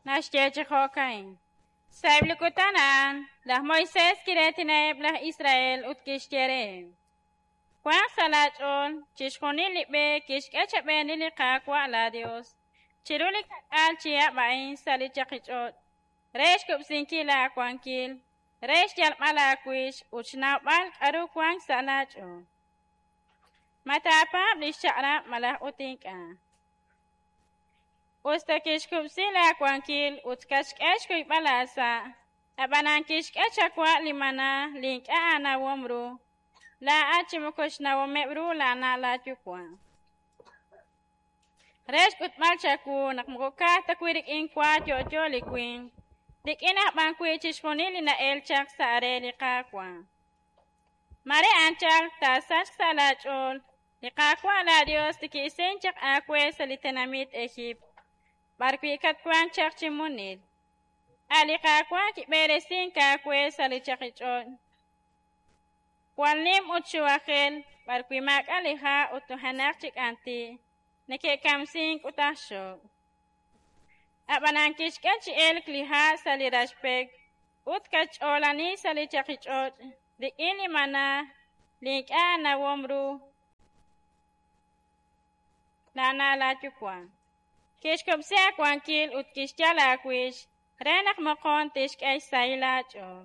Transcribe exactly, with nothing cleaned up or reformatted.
Naxye chi jo'ka'in: Sa'eb' li kutan a'an laj Moisés kiraatinaheb' laj Israel ut kixye reheb': Wanq sa' laach'ool chixjunil li b'e kixk'e chab'eeni li Qaawa' laaYos chiru li ka'k'aal chihab' a'in sa' li chaqich'och' re xkub'sinkil aawankil, re xyalb'al aawix ut xnawb'al k'aru wank sa' laach'ool. Ma taapaab' li xchaq'rab' malaj ut ink'a'? Us ta kixkub'si laawankil ut katxk'e xkuyb'al aasa', ab'anan kixk'e chawa' li maná li ink'a' aanawom ru laa'at chi moko xnawomeb' ru laana' laayuwa'. Re xk'utb'al chawu naq moko ka'aj ta wi' rik'in wa yo'yo li winq, rik'in aj b'an wi' chixjunil li na'elk chaq sa' re li Qaawa'. Mare anchal taasachq sa' laach'ool li Qaawa' laaYos li ki'isink chaq aawe sa' li tenamit Ejiipt, b'arwi' katwank chaq chi munil. A' li Qaawa' kib'eresink aawe sa' li chaqich'och' jwal nim ut xuwajel, b'arwi' maak'a' li ha' ut nujenaq chi k'anti' neke'kamsink ut aj xojb'. Ab'anan kixk'e chi elk li ha' sa' li raxpek ut katxch'oolani sa' li chaqich'och' rik'in li maná li ink'a' aanawom ru laana' laayuwa'. Kixkub'si aawankil ut kixyal aawix re naq moqon tixk'e xsahil aach'ool.